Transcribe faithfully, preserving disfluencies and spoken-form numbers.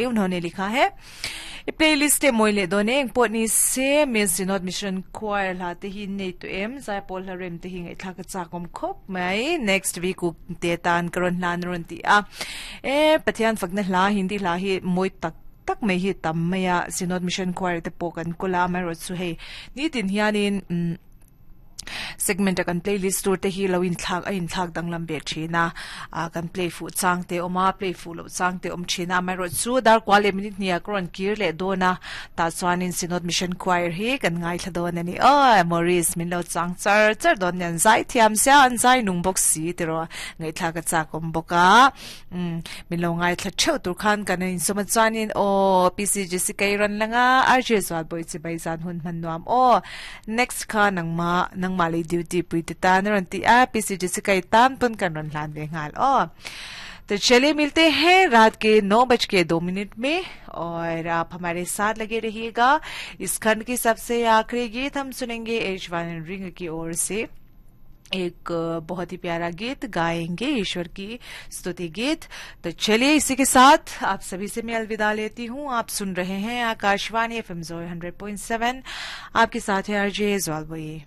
उन्होंने लिखा है playlist te moi le done eng pawh ni se Miss Synod Mission Choir hla te hi nei tu em zaipawl hla rem te hi ngai thla ka chak awm khawp mai next week u te tan ka rawn hlan rawn ti a e Pathian fakna hla Hindi hla hi mawi tak tak mai hi tam mai a Synod Mission Choir te pawh kan kawla mai rawh chu hei nitin hianin um segment a kan playlist tur te hi lo in thlak a in thlak danglam ve thina a kan play fu chang te oma play fu lo chang te om thina mai ro chu dar kwale minute nia kron kir le dona ta chuan in Synod Mission Choir hi kan ngai thla don ani o Maurice min lo chang char char don yan zai thiam sia an zai nung box si te ro ngai thla ka cha kom boka um min lo ngai thla theu tur khan kan in soma chuan in o P C G C kai ran langa R J zwal boi chi bai zan hun man nuam o next kha nang ma nang ma le duty pui te tan ran ti a P C G C kai tan pun kan ran hlan ve ngal o। तो चलिए, मिलते हैं रात के नौ बज के दो मिनट में और आप हमारे साथ लगे रहिएगा। इस खंड की सबसे आखिरी गीत हम सुनेंगे। H one ring की ओर से एक बहुत ही प्यारा गीत गाएंगे, ईश्वर की स्तुति गीत। तो चलिए, इसी के साथ आप सभी से मैं अलविदा लेती हूँ। आप सुन रहे हैं Akashvani F M hundred point seven. आपके साथ है आरजे ज्वालबोई।